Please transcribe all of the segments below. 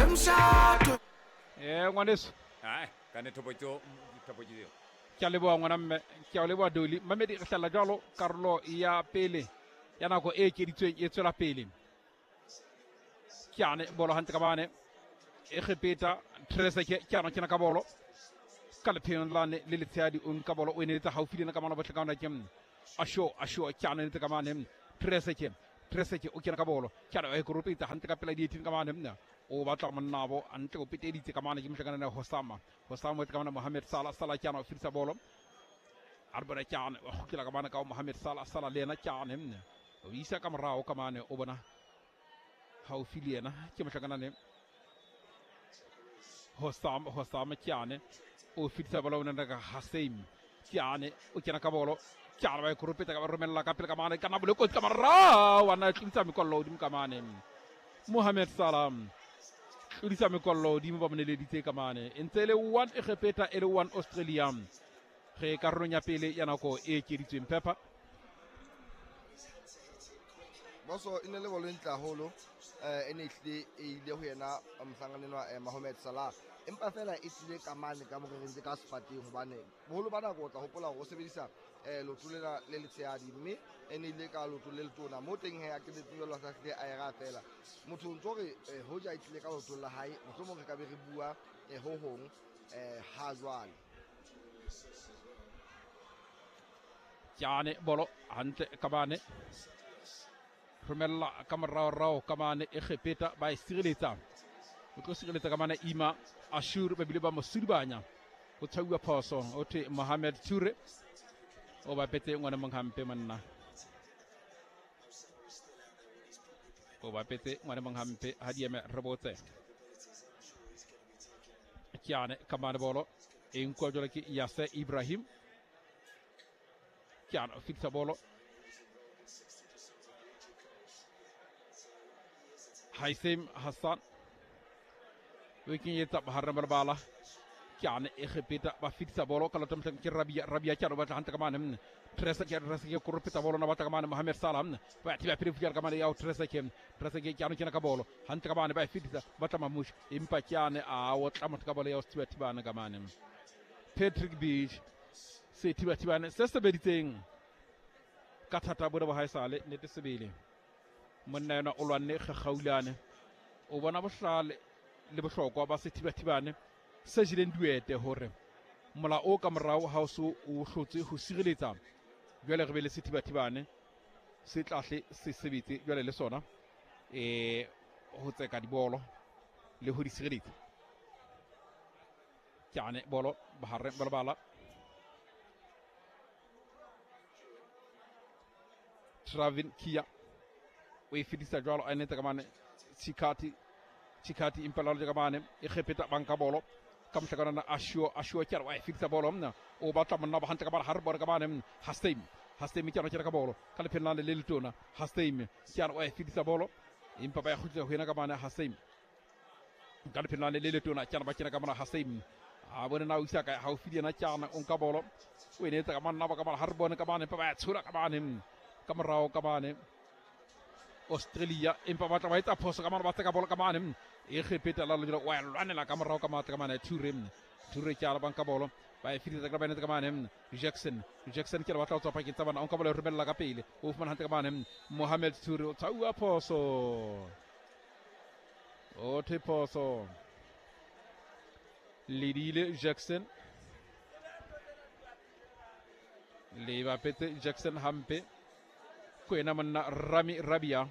Emshado. Ngwaneso. Ai, ka ne thopo tseo, thopo tseo. Ke a leboha ngwana mme, ke a leboha Doli. Mamedi re hlalla jwalo karolo ya pele ya nako e ekeditsweng e tswela pele. Ke ane bolo hantle ka bane. Egepeta Trezeguet ke ano kena ka bolo. Ka lepheong lane le letshehadi o nka bolo o e neletsa haufi le ena ka mano bohle ka ona ke Asho Asho ke ano netse ka mane Trezeguet Trezeguet o kena ka bolo. Ke ano e koropetsa hantle ka pela di-18 ka mane. O batla monnabo hantle o peteditse ka mane ke mohlakana le Hosama. Hosama o ka mane Mohamed Salah Salah ke ano o fetisa bolo. A re bona ke ano wa kgutlela ka mane ka Mohamed Salah Salah le yena ke ano o isa ka morao ka mane o bona haufi le yena ke mohlakana le Hosam Hosam ke ane o fetisa bolo o nna ka Haseim ke ane o kena ka bolo ke ane ba e koropetsa ka ba romella ka pele ka mane ka na bole kotsi ka morao wa na tlodisa mekollo hodimo ka mane Mohamed Salah tlodisa mekollo hodimo ba moneleditse ka mane e ntse e le 1 Egepeta e le 1 Australia ge karolong ya pele ya nako e ekeditsweng Pepper. Boso e ne le bolo e ntle haholo, e ne ehlile e ile ho yena mohlankana enwa Mohamed Salah, empa fela e tlile ka mane ka morereng tse ka sefateng, hobane boholo ba nako o tla hopola hore o sebedisa leoto lena le letshehadi, mme e ne ile ka leoto le letona mo teng he a qetetse jwalo a sa hlile a e raha fela. Motho o ntso re hoja e tlile ka leotong la hae, mohlomong re ka be re bua ho hong ha jwale. Kyane bolo hantle ka bane romella ka moraorao ka mane Egepeta ba e sireletsa o tlo sireletsa ka mane Ima Ashur ba bile ba mo sudubanya o tshauwa phoso o thwe Mohamed Toure o bapetse ngwana mong hampe monna o bapetse ngwana mong hampe ha di eme re botse Kyane ka mane bolo e nkuwa jwalo ke Yase Ibrahim Kyane o fetisa bolo Haithim Hassan o kenyetsa bohareng ba lebala Kyane Egepeta ba fetisa bolo ka lota mohleng ke Rabia Rabia Kyane o batla hantle ka mane Trezeguet Trezeguet koropetsa bolo na batla ka mane Mohamed Salah ba thiba pele fihla ka mane ya Trezeguet Trezeguet Kyane kena ka bolo hantle ka mane ba e fetisa batla Mamush empa Kyane a otla motho ka bolo ya o thibane ka mane Patrick Beach se thibathibane se sebeditseng ka thata bone bo haesale nnete sebele monna yena o lwanne kgakgaulane o bona bohlale le bohlokwa ba sethibathibane se jeleng duete hore mola o ka morao ha o so o hlotse ho sireletsa jwale re be le sethibathibane se tlahle se sebetse jwale le sona ho tseka dibolo le ho di sireletsa. Kyane bolo bohareng ba lebala Travin Kia o e fetisa jwalo a netse ka mane Chikati Chikati empa lalo ka mane Egepeta ba nka bolo ka mohlakana na Ashio Ashio Kyane wa e fetisa bolo mna o batla monna ba hantle ka bala ha re bone ka mane Haseim Haseim Kyane kena ka bolo ka lephelong le le letona Haseim Kyane wa e fetisa bolo empa ba ya kgutlela ho yena ka mane Haseim ka lephelong le le letona Kyane ba kena ka mona Haseim a bone na o isa kae haufi le yena Kyane o nka bolo o e neetsa ka monna ba ka mane ha re bone ka mane empa ba ya tshola ka mane ka morao ka mane Australia empa batla ba etsa phoso ka mane ba tseka bolo ka mane Egepeta la lojela wa lwanela ka morao ka matla ka mane Toure Toure ke ala banka bolo ba e fetisetsa ka ba netse ka mane Jackson Jackson ke batla ho tswa pakeng tsa bana o nka bolo e romella ka pele o fumana hantle ka mane Mohamed Toure o tshauwa phoso o thwe phoso ledile Jackson le bapetse Jackson hampe ko yena monna Rami Rabia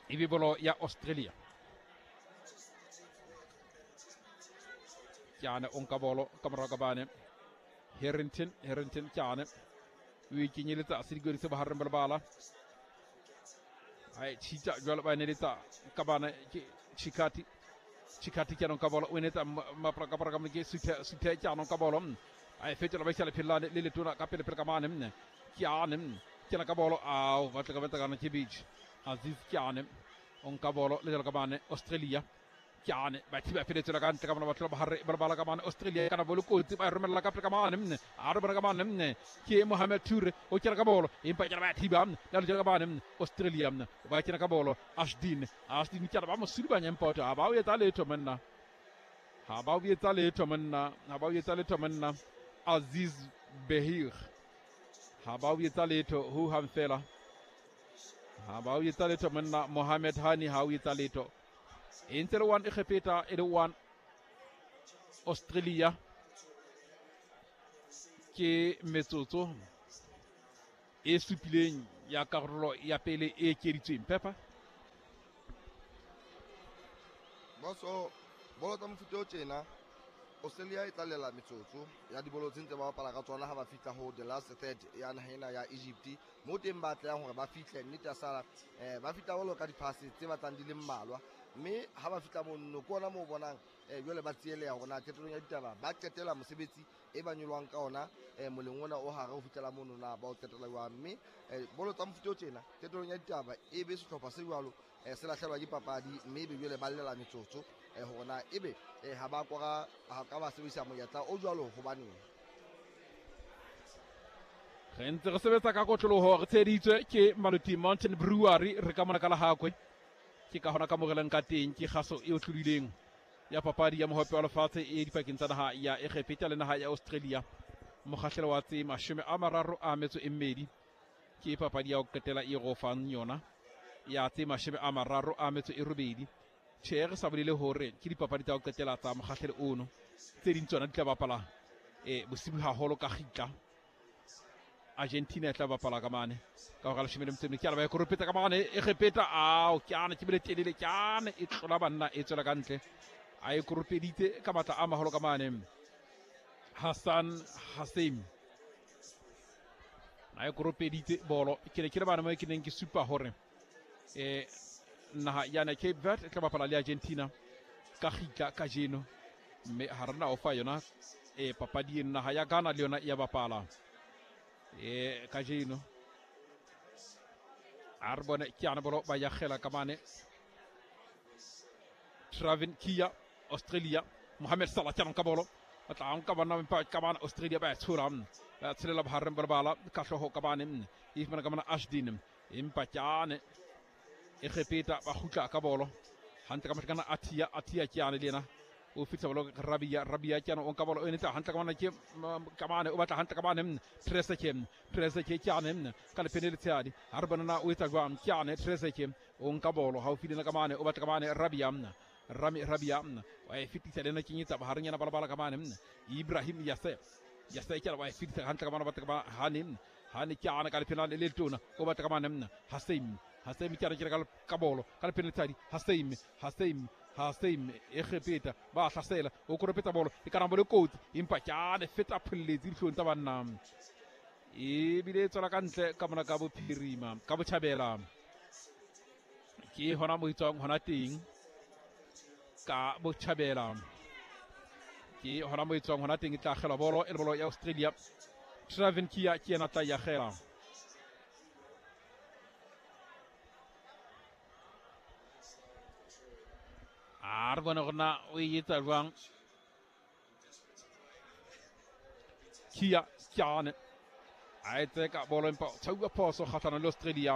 ebe bolo ya Australia Kyane o nka bolo ka morao ka bane Harrington Harrington Kyane o e kenyeletsa sedikodi se bohareng ba lebala a e tshitsa jwalo ba neletsa ka bana ke Chikati Chikati Kyane o nka bolo o netsa mapra ka ka ke Suthe Suthe Kyane o nka bolo a e fetola ba isa lephelane le letona ka pele pele ka mane Kyane kena ka bolo ao batla ka betsa kana ke Beach Aziz Kyane o nka bolo le jalo ka bane Australia Kyane ba thiba feletsela ka ntle ka mona batho ba hare ba bala ka mane Australia kana bolo kotsi ba romella ka pele ka mane mne a re bona ka mane mne ke Mohamed Toure o kena ka bolo empa kena ba thiba la le ka mane Australia mne ba kena ka bolo Ashdin kena ba mo sulubanya empa ha ba o etsa letho monna ha ba o etsa letho monna ha ba o etsa letho monna Aziz Behir ha ba o etsa letho ho hang fela ha ba o etsa letho monna Mohamed Hani ha o etsa letho. E ntse le 1 Egepeta e le 1 Australia ke metsotso e supileng ya karolo ya pele e ekeditsweng. Pepper boso bolo tsa mofuta o tjena Australia e tlalela metsotso ya dibolo tse ntse ba bapala ka tsona ha ba fihla ho the last third ya naha ena ya Egypt mo teng ba tlang hore ba fihle nnete ya sala ba fihla bolo ka diphase tse batlang di le mmalwa mme ha ba fihla mono ke ona moo bonang jwale ba tsieleha hore na qetellong ya ditaba ba qetela mosebetsi e ba nyolwang ka ona moleng ona o hare ho fihlela mono na ba o qetela jwang. Mme bolo tsa mofuta o tjena qetellong ya ditaba e be sehlopha se jwalo se lahlelwa ke papadi mme ebe jwale ba llela metsotso hore na ebe ha ba kora ha ka ba sebedisa monyetla o jwalo hobaneng. Re ntse re sebetsa ka kotloloho re tsheditswe ke Maluti Mountain Brewery re ka mona ka Lahakwe ke ka hona ka morelang ka teng ke kgaso e otlolileng ya papadi ya mohope wa lefatshe e dipakeng tsa naha ya Egepeta le naha ya Australia mokgahlelo wa tse 32 ke papadi ya ho qetela e rofang yona ya tse 38. Tjhe re sa bolele hore ke dipapadi tsa ho qetela tsa mokgahlelo ono tse ding tsona di tla bapala bosibu haholo ka kgitla. Argentina e tla bapala ka mane ka hora 14 ke a ba e koropetsa ka mane Egepeta ao ke ana ke bile telele ke ana e tlola banna e tswela ka ntle a e koropeditse ka matla a maholo ka mane Hassan Hasim a e koropeditse bolo ke ne ke le bana mo ke neng ke supa hore naha yana Cape Verde e tla bapala le Argentina ka kgitla kajeno mme ha rena o fa yona papadi eno naha ya Ghana le yona ya bapala kajeno a re bone ke ana bolo ba yakgela ka mane Travin Kia Australia Mohamed Salah ke ka bolo ba tla nka bana ka bana Australia ba tshola ba tshelela bohareng ba bala ka hlooho ka bane e fumana ka mona Ashdin empa ke ane Egepeta ba kgutla ka bolo hantle ka mahlakana Atia ke ane le yena o fihla bolo Rabia ke ane o nka bolo o enetsa hantle ka mona ke ka mane o batla hantle ka mane Trezeguet ke ane ka lepene le tshehadi ha re bona na o etsa jwang ke ane Trezeguet o nka bolo haufi le ka mane o batla ka mane Rabia Rami Rabia wa e fetisa le ena kenyetsa bohareng yana balabala ka mane Ibrahim Yasser ke wa e fetisa hantle ka mane o batla ka Hani ke ane ka lepene le letona o batla ka mane Hasim ke re ka bolo ka lepene le tshadi Hasim Egepeta ba hlasela o koropetsa bolo e kana bolo kotsi empa ke ane feta pholletsi dihlong tsa banna ebile e tswela ka ntle ka mona ka bophirima ka botjhabela ke hona mo itswang hona teng ka botjhabela ke hona mo itswang hona teng e tla akgelwa bolo e le bolo ya Australia. Travin Kia ke yena tla e akgela. A re bone gore na o e etsa jwang Kia ke a etse ka bolo empa tshauwa phoso kgahlano le Australia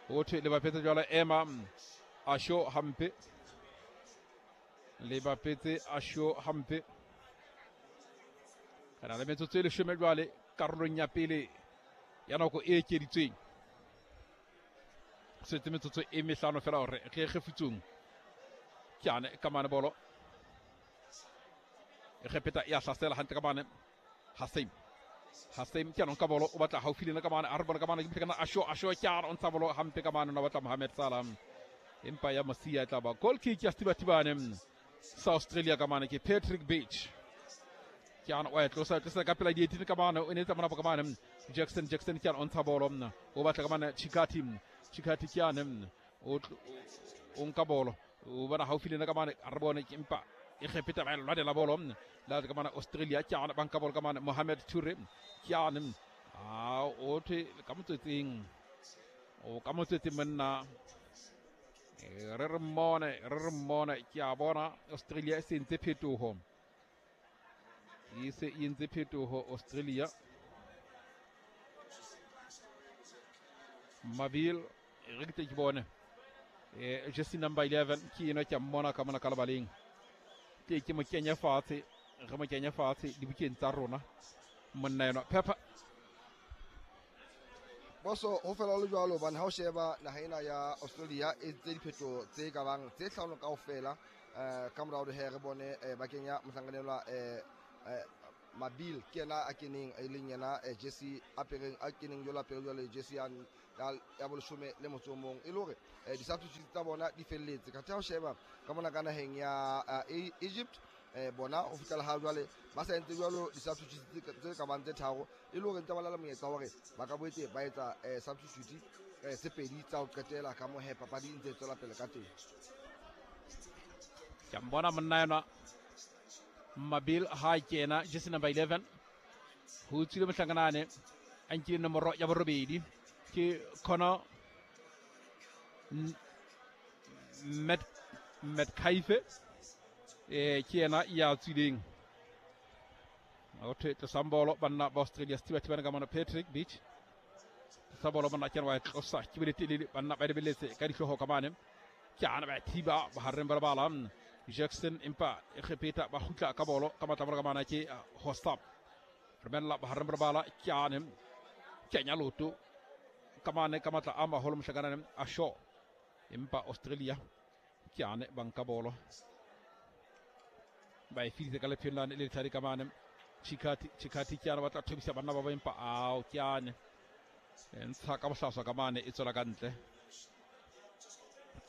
ho thwe le bapetse jwalo ema Asho hampe le bapetse Asho hampe kana le metsotso e 10 jwale karolong ya pele ya nako e ekeditsweng setse metsotso e mehlano fela hore re kgefutsong ke ane ka mane bolo Egepeta ya hlasela hantle ka mane Hasim ke ane ka bolo o batla haufi le ka mane a re bona ka mane ke kana Asho ke ane o ntsha bolo hampe ka mane o batla Mohamed Salah empa ya Mosia e tla ba goal kick ya Stibatibane sa Australia ka mane ke Patrick Beach ke ane o e tlosa ka pela di-18 ka mane o ne tsa mona ka mane Jackson ke ane o ntsha bolo o batla ka mane Chikati ke ane o nka bolo o bona haufi le nna ka mane a re bone empa Egepeta ba lwanela bolo la ka mane Australia ke ane ba nka bolo ka mane Mohamed Toure ke ane a o thwe ka motswetseng o ka motswetseng monna Re re mmone ke a bona Australia e sentse phetoho. E se e entse phetoho Australia. Mabil re ke ke bone. Jersey number 11 ke eno ke a mmona ka mona ka lebaleng. Ke mo kenya fatshe, re mo kenya fatshe dibukeng tsa rona. Monna eno Pepper. Boso ho fela le jwalo hobane ha o sheba naha ena ya Australia e tse diphetho tse ka bang tse hlano kaofela ka morao he re bone ba kenya mohlanganelwa Mabil ke yena a keneng e leng yena jersey apereng a keneng jwalo apere jwale jersey ya boleshome le motso o mong e le hore di-substitute tsa bona di felletse. Ka ha o sheba ka mona ka naheng ya Egypt bona ho fihlela ha jwale ba sa entse jwalo di-substitute tse ka bang tse tharo e le hore ntse ba na le monyetla hore ba ka boetse ba etsa substitute tse pedi tsa ho qetela ka moo he papadi e ntse e tswela pele ka teng. Ke a mbona monna enwa Mabil ha kena jersey number 11 ho tswile mohlankanane a nkile nomoro ya borobedi ke Connor Metcalfe ke yena ya tswileng. O thwe tlosang bolo banna ba Australia sethibathibane ka mona Patrick Beach. Tlosa bolo monna ke wa tlosa ke bele telele banna ba lebeletse ka dihlooho ka mane. Ke ana ba thiba bohareng ba lebala Jackson empa Egepeta ba kgutla ka bolo ka matla ka mana ke Hostam. Romella bohareng ba lebala ke ane kenya loto ka mane ka matla a maholo mohlakanane a Shaw. Empa Australia ke ane ba nka bolo. Ba e feditse ka lepheng lane le lethadi ka mane. Chikati ke ana batla thobisa banna ba ba empa ao ke ane ntsha ka bohlaswa ka mane e tswela ka ntle.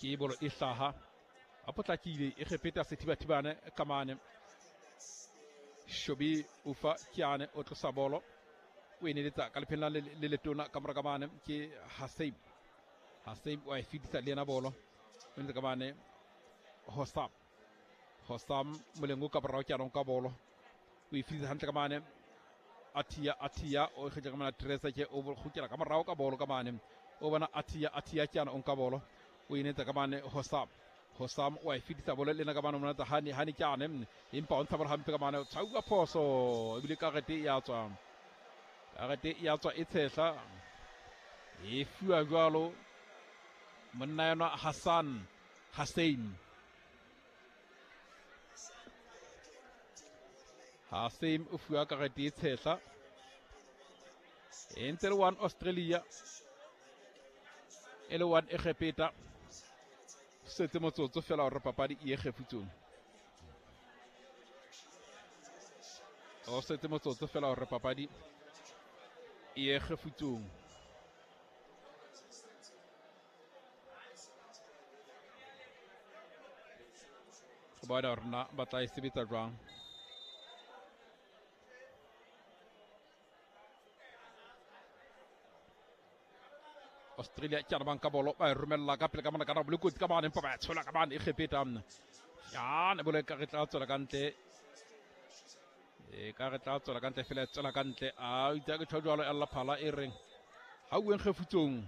Ke bolo e hlaha a potlakile Egepeta sethibathibane ka mane. Shobi Ufa ke ane o tlosa bolo o e neletsa ka lepheng lane le letona ka mora ka mane ke Haseim. Haseim wa e fedisa le yena bolo o ntse ka mane Hosam. Hosam moleng o ka borao ke anong ka bolo o e fedisa hantle ka mane Atia o kgetla ka mane Teresa ke o kgutlela ka morao ka bolo ka mane o bona Atia ke ana o nka bolo o e netsa ka mane Hosam. Hosam wa e fedisa bolo le ena ka mane o monatsa Hani ke ane empa o ntsha bolo hampe ka mane o tshauwa phoso ebile karete ya tswa. Karete ya tswa e tshehla e fuwa jwalo monna enwa Hassan Haseim. Haseim o fuwa karete e tshehla. E ntse le 1 Australia e le 1 Egepeta. Setse motsotso fela hore papadi e ye kgefutsong. O setse motsotso fela hore papadi e ye kgefutsong. Go bona hore na ba tla e sebetsa jwang. Australia ke ana banka bolo ba e romella ka pele ka mona ka na bolokotsi ka mane empa ba tshola ka mane Egepeta. Ya ne bolo ka re tla tswela ka ntle. E ka re tla tswela ka ntle fela tswela ka ntle. A itse ke tjho jwalo ya phala e reng ha o kgefutsong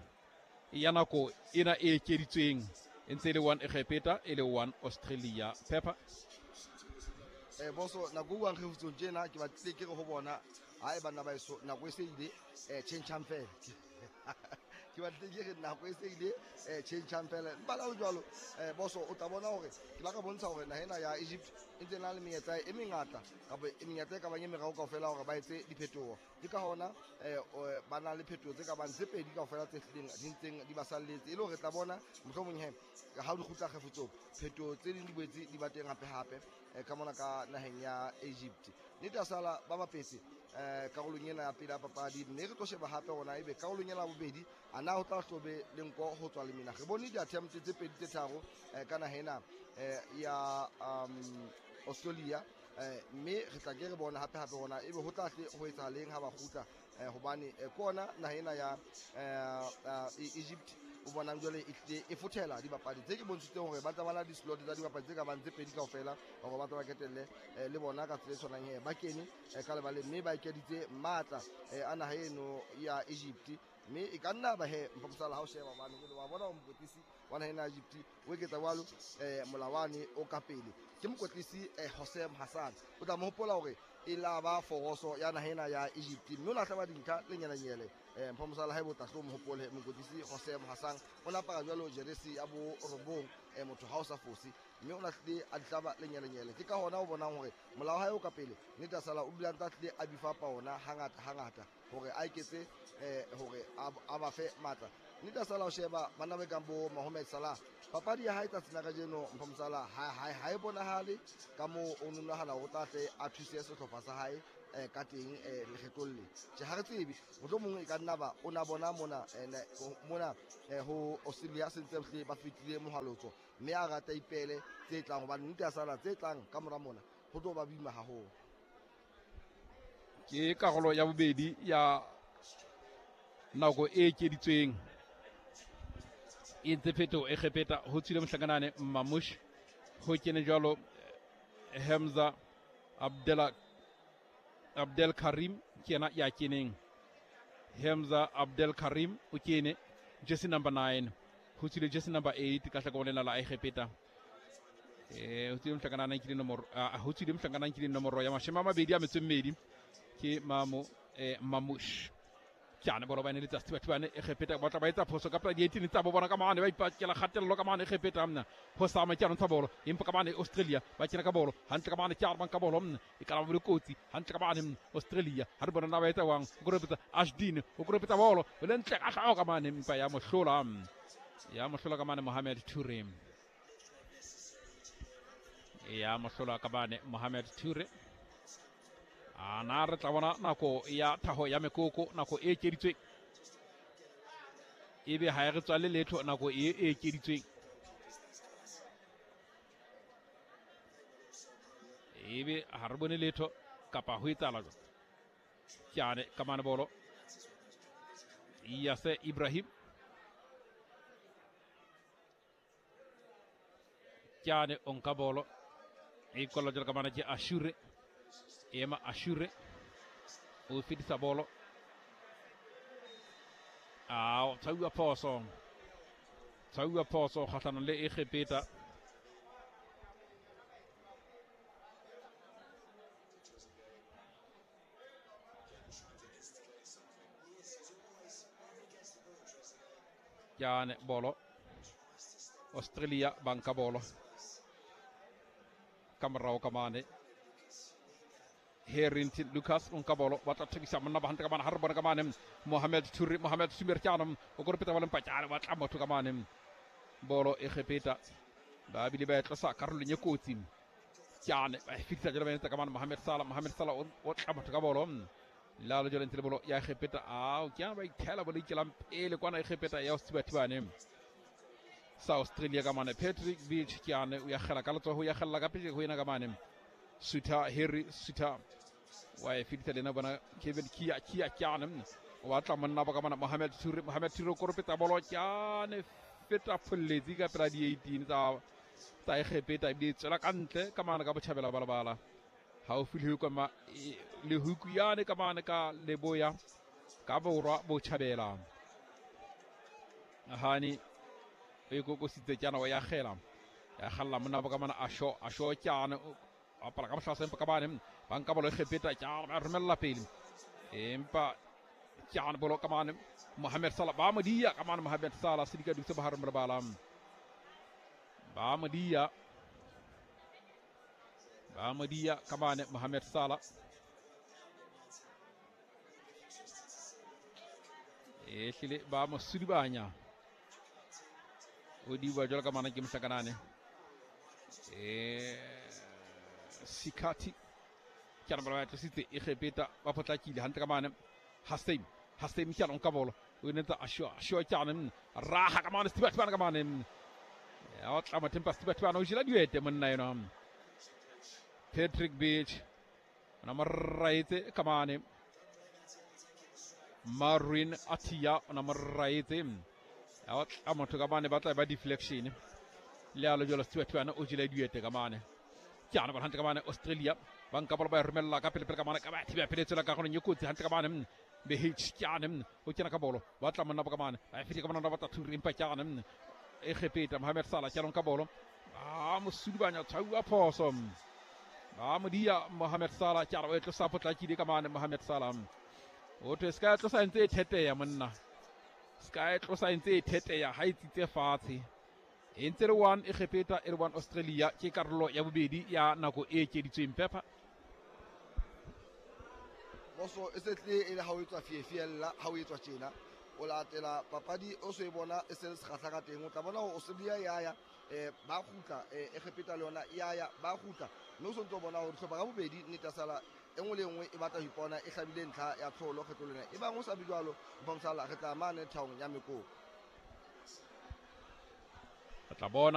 ya nako ena e ekeditsweng e ntse e le 1 Egepeta e le 1 Australia. Pepper. Boso nako e kgefutsong tjena ke batlile ke re ho bona ha e banna ba eso nako e se ile change fela. Ke batlile ke re nako e se ile change fela. Empa la jwalo boso o tla bona hore ke la ka bontsha hore naha ena ya Egypt e ntse na le menyetla e mengata kapa e menyetla e ka bang e meraro kaofela hore ba etse diphetoho. Ke ka hona ba na le phetoho tse ka bang tse pedi kaofela tse hlileng di ntseng di ba salletse e le hore re tla bona mohlomong he ha di kgutla kgefutsong phetoho tse ding di boetse di ba teng hape hape ka mona ka naheng ya Egypt. Nnete ya sala ba bapetse karolong ena ya pele ya papadi mme re tlo sheba hape hona ebe karolong ena ya bobedi a na ho tla hlobe le nko ho tswa lemina. Re bone di-attempt tse pedi tse tharo ka naha ena ya Australia mme re tla ke re bona hape hape hona ebe ho tla hle ho etsahaleng ha ba kgutla hobane ke ona naha ena ya Egypt o bonang jwale e tlile e fothela dibapadi tse ke bontshitseng hore ba tla ba na di-slot tsa dibapadi tse ka bang tse pedi kaofela hore ba tla ba ketelle le bona ka tsela e tshwanang he ba kene ka lebaleng mme ba ekeditse matla a naha eno ya Egypt. Mme e ka nna ba he mpha mosala ha o sheba hobane jwale wa bona hore mokwetlisi wa naha ena ya Egypt O eketsa jwalo molawane o ka pele ke mokwetlisi Hosem Hassan. O tla mo hopola hore e la ba foroso ya naha ena ya Egypt, mme o lahla ba dintlha le nyenyele. Mpho Mosala haeba o tla hlo mo hopole mokwetlisi Hosem Hassan o la apara jwalo jeresi ya bo 9, motho ha o sa fose, mme o lahlile a dihlaba le nyenyele. Ke ka hona o bonang hore molao ha o ka pele nnete sala o dula ntse a tlile a bifapa ona hangata hangata hore a iketse hore a ba fe matla. Nnete sala o sheba bana ba kang bo Mohamed Salah, papadi ya hae tsatsing la kajeno Mpho Mosala ha e bonahale ka moo o nonahana hore o tla tle a thuse sehlopha sa hae ka teng lekgetlong le. Tjhe, ha re tsebe, mohlomong e ka nna ba o na bona mona mona ho Australia se ntse hle ba fetile mohalotso, mme a rata ipele tse tlang, hobane nnete ya sala tse tlang ka mora mona ho tlo ba boima haholo. Ke karolo ya bobedi ya nako e ekeditsweng e ntse phetoho e kgepeta ho tswile mohlakanane Mamush, ho kene jwalo Hamza Abdel Karim ke yena ya keneng. Hamza Abdel Karim o kene jersey number 9, ho tswile jersey number 8 ka hlakoreng lena la Egepeta. Ho tswile mohlakanane ke nomoro, ho tswile mohlakanane ke nomoro ya 22 ke Mamush. Ke bolo ba ne le tsa Sethibathibane Egepeta ba tla ba etsa phoso ka pela di-18 tsa bo bona ka mane, ba ipakela kgatello ka mane Egepeta mna. Ho sama ke ntsha bolo, empa ka mane Australia ba kena ka bolo hantle ka mane, ke a ka bolo mna, e ka ba le kotsi hantle ka mane Australia. Ha re bona na ba etsa wang, o koropetsa Ashdin, o koropetsa bolo o le ntle ka hlao ka mane, empa ya mohlola, ya mohlola ka mane Mohamed Toure, ya mohlola ka mane Mohamed Toure. Ana re tla bona nako ya thaho ya mekoko, nako e ekeditsweng, ebe ha e re tswale letho nako e ekeditsweng, ebe ha re bone letho kapa ho etsahala jwang. Ke ka mane bolo Yase Ibrahim, ke o nka bolo e kolla jwalo ka mane ke Ashure, ema Ashure o fetisa bolo, a tshauwa phoso, tshauwa phoso kgahlanong le Egepeta. Ke bolo Australia ba nka bolo ka morao ka mane. Harrington Lucas o nka bolo, ba tla thekisa monna ba hantle ka mane, ha re bona ka mane Mohamed Toure, Mohamed Sumer ke o koropetsa ba le mpatjane, ba tla motho ka mane bolo Egepeta ba bile ba e tlosa karolong e kotsi. Ke ba e fetisa jalo ba etsa ka mane Mohamed Salah, Mohamed Salah o tla motho ka bolo la lo jalo ntse le bolo ya Egepeta. Ao ke ba ithela bolo ikelang pele kwana Egepeta ya Sethibathibane sa Australia ka mane. Patrick Beach ke o ya kgela ka letsoho, ya kgella ka pele ho yena ka mane Suter, Harry Suter wa e fetisa lena bona Kevin Kia, Kia ke o batla monna ba ka mane Mohamed Toure, Mohamed Toure o koropetsa bolo ke feta pholletsi ka pela di-18 tsa Egepeta, ebile e tswela ka ntle ka mane ka botjhabela balabala haufi le huku yane ka mane ka leboya ka borwa botjhabela. Hani o ikokositse ke wa ya kgela, ya kgalla monna ba ka mane Asho, Asho ke apala ka bohlasa empa ka bane ba nka bolo Egepeta ke ba romella pele, empa ke bolo ka mane Mohamed Salah ba mo dia ka mane Mohamed Salah sedika dutse ba hare lebala, ba mo dia, ba mo dia ka mane Mohamed Salah. E hlile ba mo sudibanya, o diwa jwalo ka mane ke mohlakanane Sikati ke ba tlositse Egepeta ba potlakile hantle ka mane Hasem, Hasem ke nka bolo o netsa Asho, Asho ke raha ka mane Sethibathibane ka mane, ya o tla mothempa Sethibathibane o jela diete monna ena Patrick Beach ona mo raetse ka mane Marwin Atia ona mo raetse, ya o tla motho ka mane ba tla ba deflection le a lo jwalo Sethibathibane o jela diete ka mane. Ke ba hantle ka mane Australia ba nka bolo ba e romella ka pele pele ka mane ka ba thiba pele tsela ka gone e kotsi hantle ka mane BH ke o kena ka bolo ba tla monna ba ka mane ba fitse ka mane ba tla Toure, empa ke Egepeta. Mohamed Salah ke ka bolo a mosudubanya tshwauwa phoso ba modia Mohamed Salah ke a re o e tlosa potlakile ka mane. Mohamed Salah o thwe se ka tlosa ntse e theteya monna, se ka e tlosa ntse e theteya ha e tsitse fatshe. E ntse le 1 Egepeta e le 1 Australia. Ke karolo ya bobedi ya nako e ekeditsweng Pepper. Boso e se tle e le ha o etswa fiefiella, ha o etswa tjena o latela papadi o so e bona e se le sekgahla ka teng. O tla bona hore Australia ya ba kgutla, Egepeta le yona ya ba kgutla, mme o sontse o bona hore dihlopha ka bobedi nnete ya sala e nngwe le nngwe e batla ho ipona e hlabile ntlha ya tlholo kgetlo lena. E bang o sa be jwalo, Mphamsala, re tla mane thaong ya mekoko. Re tla bona.